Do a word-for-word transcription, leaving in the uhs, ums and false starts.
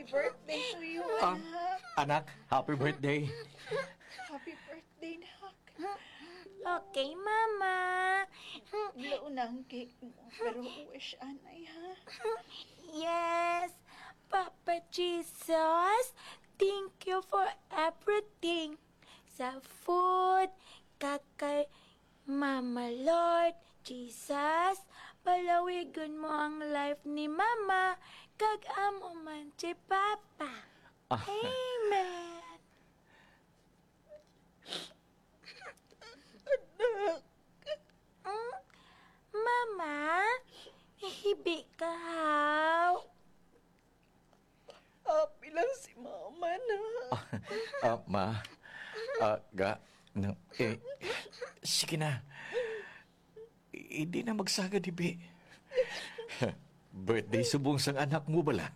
Birthday to you, Ah, anak. Anak, happy birthday. Happy birthday, nak. Okay, Mama. Blow na ang cake mo, pero wish anay, ha? Yes, Papa Jesus, thank you for everything. Sa food, kag kay Mama Lord, Jesus, palawigon mo ang life ni Mama, kag amo man si Papa. Ah. Amen. Anak. Mm, Mama, hibi ka, haw? Happy lang si Mama na. Ah, ah, ma. Ah, ga, no, eh, sige na. Hindi na magsagad, hibi. Birthday subong sang anak mo bala.